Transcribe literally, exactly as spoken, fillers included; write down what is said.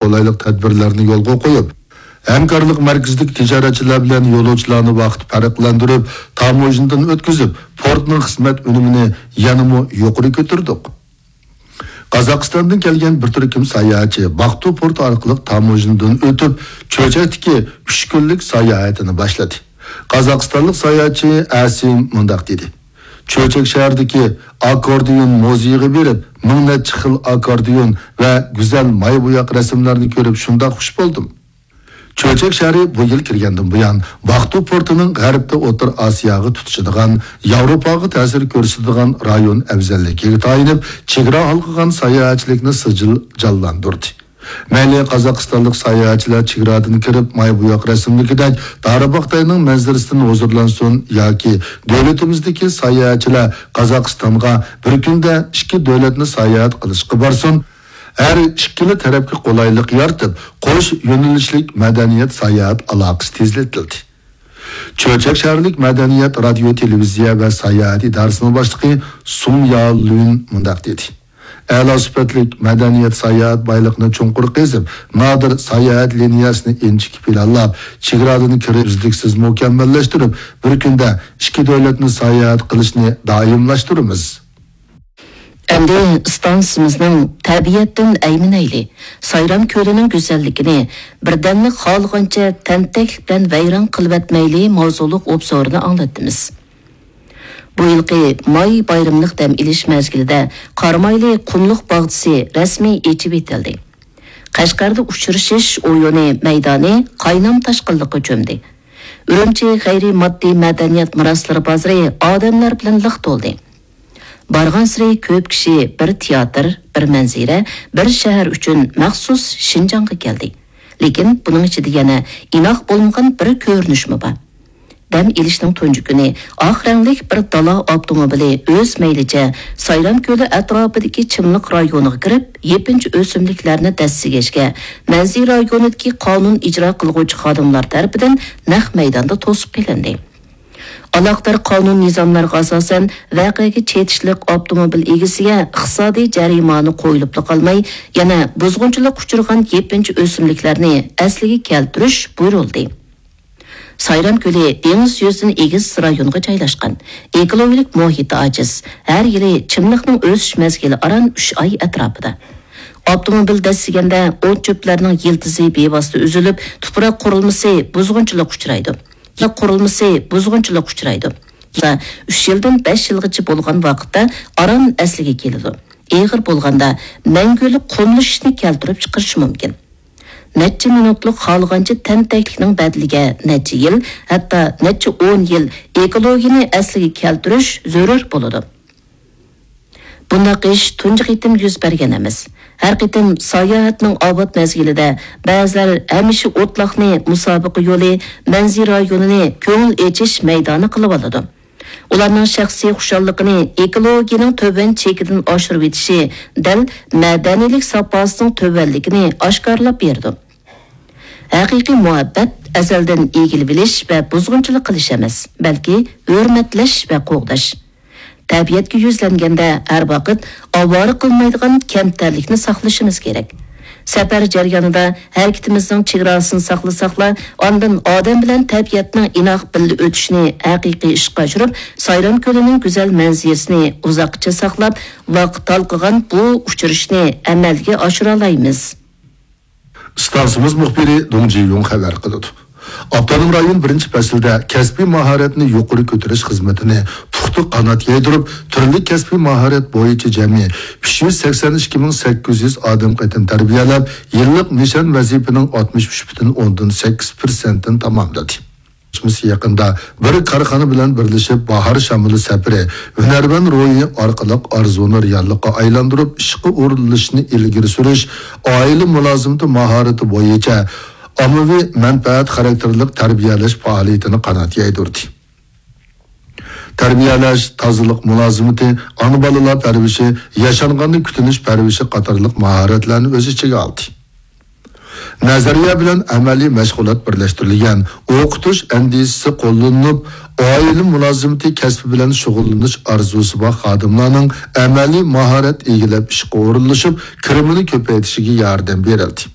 قولايلىق تەدبىرلەرنى يولغا قويۇپ، ھەمكارلىق مەركىزىدىكى تىجارەتچىلەر بىلەن يولۇچىلارنى ۋاقىت پەرقلەندۈرۈپ، تاموژنىدىن ئۆتكۈزۈپ، پورتنىڭ خىزمەت ئۈنۈمىنى يەنىمۇ يۇقىرى كۆتۈردۇق. قازاقىستاندىن كەلگەن بىر تۈركۈم ساياھەتچى باقتۇ پورتى ئارقىلىق تاموژنىدىن ئۆتۈپ، چۆچەكتىكى ئۈچ كۈنلۈك ساياھىتىنى باشلىدى. قازاقىستانلىق ساياھەتچى ئەسىم مۇنداق دېدى: چۆچەك شەھىرىدىكى ئاككوردىيون مۇزېيىغا بېرىپ، مىڭ نەچچە خىل ئاككوردىيون ۋە گۈزەل ماي بوياق رەسىملەرنى كۆرۈپ شۇنداق خۇش بولدۇم. چۆچەك شەھىرى بۇ يىل كىرگەندىن بۇيان، باقتۇ پورتىنىڭ غەربتە ئوتتۇرا ئاسىياغا تۇتىشىدىغان، ياۋروپاغا تەسىر كۆرسىتىدىغان رايون ئەۋزەللىكىگە تايىنىپ، چېگرا ھالقىغان ساياھەتچىلىكنى سىجىل جانلاندۇردى. مەيلى قازاقىستانلىق ساياھەتچىلەر چېگرادىن كىرىپ، ماي بوياق رەسىملىكىدەك دارىباختاينىڭ مەنزىرىسىدىن ھۇزۇرلانسۇن ياكى دۆلىتىمىزدىكى ساياھەتچىلەر قازاقىستانغا بىر كۈندە ئىككى دۆلەتنى ساياھەت قىلىشقا بارسۇن، ھەر ئىككىلا تەرەپكە قولايلىق يارىتىپ، قوش يۆنىلىشلىك مەدەنىيەت ساياھەت ئالاقىسى تېزلىتىلدى. چۆچەك شەھەرلىك مەدەنىيەت، رادىيو، تېلېۋىزىيە ۋە ساياھەت ئىدارىسىنىڭ باشلىقى سۇڭ يالۈن مۇنداق دېدى: ئەلا سۈپەتلىك مەدەنىيەت ساياھەت بايلىقىنى چوڭقۇر قېزىپ، نادىر ساياھەت لىنىيەسىنى ئىنچىكە پىلانلاپ، چېگرادىن كىرىپ ئۈزلۈكسىز مۇكەممەللەشتۈرۈپ، بىر كۈندە ئىككى دۆلەتنى ساياھەت قىلىشنى دائىملاشتۇرىمىز. ئەمدى ئىستانسىمىزنىڭ تەبىئەتتىن ئەيمىنەيلى، سايرام كۆلىنىڭ گۈزەللىكىنى بىردەملىك خالىغانچە تەنتەكلىك بىلەن ۋەيران قىلىۋەتمەيلى ماۋزۇلۇق ئوبزورىنى ئاڭلاتتىمىز. بۇ يىلقى ماي بايرىملىق دەم ئېلىش مەزگىلىدە قارامايلى قۇملۇق باغچىسى رەسمىي ئېچىۋېتىلدى. قەشقەردە ئۇچرىشىش ئويۇنى مەيدانى قاينام تاشقىنلىققا چۆمدى. ئۈرۈمچى غەيرىي ماددىي مەدەنىيەت مىراسلىرى بازىرى ئادەملەر بىلەن لىق تولدى. بارغانسېرى كۆپ كىشى بىر تىياتىر، بىر مەنزىرە، بىر شەھەر ئۈچۈن مەخسۇس شىنجاڭغا كەلدى. لېكىن بۇنىڭ ئىچىدە يەنە ئىناق بولمىغان بىر كۆرۈنۈشمۇ بار. دەم ئېلىشنىڭ تۇنجى كۈنى ئاق رەڭلىك بىر دالا ئاپتوموبىلى ئۆز مەيلىچە سايرام كۆلى ئەتراپىدىكى چىملىق رايونىغا كىرىپ، يېپىنچا ئۆسۈملۈكلەرنى دەسسىگەچكە، مەنزىرە رايونىدىكى قانۇن ئىجرا قىلغۇچى خادىملار تەرىپىدىن نەق مەيداندا توسۇپ قېلىندى. ئالاقىدار قانۇن نىزاملارغا ئاساسەن، ۋەقەگە چېتىشلىق ئاپتوموبىل ئىگىسىگە ئىقتىسادىي جەرىمانە قويۇلۇپلا قالماي، يەنە بۇزغۇنچىلىققا ئۇچرىغان يېپىنچا ئۆسۈملۈكلەرنى ئەسلىگە كەلتۈرۈش بۇيرۇلدى. سايرام كۆلى دېڭىز يۈزىدىن ئېگىز رايونغا جايلاشقان، ئېكولوگىيەلىك مۇھىتى ئاجىز، ھەر يىلى چىملىقنىڭ ئۆسۈش مەزگىلى ئاران ئۈچ ئاي ئەتراپىدا. ئاپتوموبىل دەسسىگەندە ئوت چۆپلەرنىڭ يىلتىزى بىۋاسىتە ئۈزۈلۈپ، تۇپراق قۇرۇلمىسى بۇزغۇنچىلىققا ئۇچرايدۇ. قۇرۇلمىسى بۇزغۇنچىلىققا ئۇچرايدۇ. ئۈچ يىلدىن بەش يىلغىچە بولغان ۋاقىتتا ئاران ئەسلىگە كېلىدۇ. ئېغىر بولغاندا مەڭگۈلۈك قۇملىشىشنى كەلتۈرۈپ چىقىرىشى مۇمكىن. نەچچە مىنۇتلۇق خالىغانچە تەنتەكلىكنىڭ بەدىلىگە نەچچە يىل، ھەتتا نەچچە ئون يىل ئېكولوگىيەنى ئەسلىگە كەلتۈرۈش زۆرۈر بولىدۇ. بۇنداق ئىش تۇنجى قېتىم يۈز بەرگەن ئەمەس. ھەر قېتىم ساياھەتنىڭ ئاۋات مەزگىلىدە بەزىلەر ھەمىشە ئوتلاقنى مۇسابىقە يولى، مەنزىرە رايونىنى كۆڭۈل ئېچىش مەيدانى قىلىۋالىدۇ. ئۇلارنىڭ شەخسىي خۇشاللىقىنى ئېكولوگىيەنىڭ تۆۋەن چېكىدىن ئاشۇرۇۋېتىشى دەل مەدەنىيلىك ساپاسىنىڭ تۆۋەنلىكىنى ئاشكارىلاپ بېرىدۇ. ھەقىقىي مۇھەببەت ئەزەلدىن ئىگىلىۋېلىش ۋە بۇزغۇنچىلىق قىلىش ئەمەس، بەلكى ھۆرمەتلەش ۋە قوغداش. تەبىئەتكە يۈزلەنگەندە ھەر ۋاقىت ئاۋارە قىلمايدىغان كەمتەرلىكنى ساقلىشىمىز كېرەك. سەپەر جەريانىدا ھەرىكىتىمىزنىڭ چېگراسىنى ساقلىساقلا، ئاندىن ئادەم بىلەن تەبىئەتنىڭ ئىناق بىللە ئۆتۈشىنى ھەقىقىي ئىشقا ئاشۇرۇپ، سايرام كۆلىنىڭ گۈزەل مەنزىرىسىنى ئۇزاققىچە ساقلاپ، ۋاقىت ھالقىغان بۇ ئۇچرىشىشنى ئەمەلگە ئاشۇرالايمىز. ئىستانسىمىز مۇخبىرى دۇڭ جىيۇڭ خەۋەر قىلىدۇ. ئاپتونوم رايون بىرىنچى پەسىلدە كەسپىي ماھارەتنى يۇقىرى كۆتۈرۈش خىزمىتىنى پۇختا قانات يايدۇرۇپ، تۈرلۈك كەسپىي ماھارەت بويىچە جەمئىي ئۈچ يۈز سەكسەن ئىككى مىڭ سەككىز يۈز ئادەم قېتىم تەربىيەلەپ، يىللىق نىشان ۋەزىپىنىڭ ئاتمىش ئۈچ پۈتۈن ئوندىن سەككىز پىرسەنتىنى تاماملىدى. يېقىندا بىر كارخانا بىلەن بىرلىشىپ، باھار شامىلى سەپىرى، ھۈنەرۋەن روھى ئارقىلىق ئارزۇنى رېئاللىققا ئايلاندۇرۇپ، ئىشقا ئورۇنلىشىشنى ئىلگىرى سۈرۈش، ئائىلە مۇلازىمىتى ماھارىتى بويىچە ئاممىۋى مەنپەئەت خاراكتېرلىك تەربىيەلەش پائالىيىتىنى قانات يايدۇردى. تەربىيەلەش، تازىلىق مۇلازىمىتى، ئانا بالىلار پەرۋىشى، ياشانغاننى كۈتۈنۈش پەرۋىشى قاتارلىق ماھارەتلەرنى ئۆز ئىچىگە ئالدى. نەزەرىيە بىلەن ئەمەلىي مەشغۇلات بىرلەشتۈرۈلگەن ئوقۇتۇش ئەندىزىسى قوللىنىلىپ، ئائىلە مۇلازىمىتى كەسپى بىلەن شۇغۇللىنىش ئارزۇسى بار خادىملارنىڭ ئەمەلىي ماھارەت ئىگىلەپ، ئىشقا ئورۇنلىشىپ، كىرىمىنى كۆپەيتىشىگە ياردەم بېرىلدى.